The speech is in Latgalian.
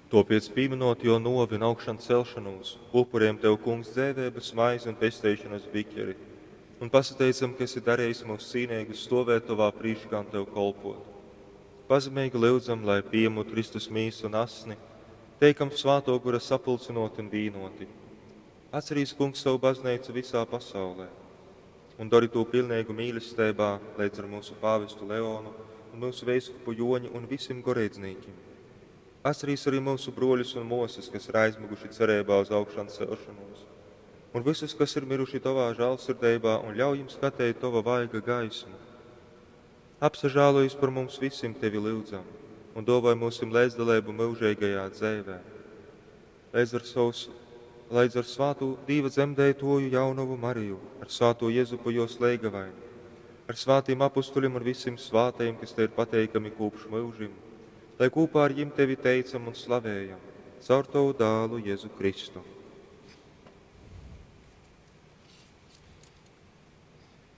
Tōpēc, pīmynot Jō nōvi un augšancelšonūs, upurejam Tev, Kungs, dzeiveibas maizi un pesteišonas biķeri, un pasateicam, ka esi darejis myus cīneigus stōvēt Tovā prīškā un Tev kolpōt. Pazemeigi lyudzam, lai, pījemūt Kristus mīsu un asni, teikam Svātō Gora sapulcynōti un vīnōti. Atcerīs, Kungs, sovu bazneicu visā pasaulē un dori tū pilneigu mīlesteibā leidz ar myusu pāvestu Leonu un myusu veiskupu Jōni un visim goreidznīkim. Atcerīs arī myusu brōļus un mōsas, kas ir aizmyguši cereibā uz augšancelšonūs, un vysus, kas ir miruši Tovā žālsirdeibā, un ļauj jim skateit Tova vaiga gaismu. Apsažālojis par mums visim Tevi lyudzam, un dōvoj myusim leidzdaleibu myužeigajā dzeivē. Leidz ar savus, leidz ar svātū Dīva dzemdeitoju jaunovu Mariju, ar svātū Jezupu jōs leigavaini, ar svātīm apustuļim un visim svātajim, kas Tev ir pateikami kopš myužim, lai kopā ar jim Tevi teicam un slavējam, caur Tovu dālu Jēzu Kristu.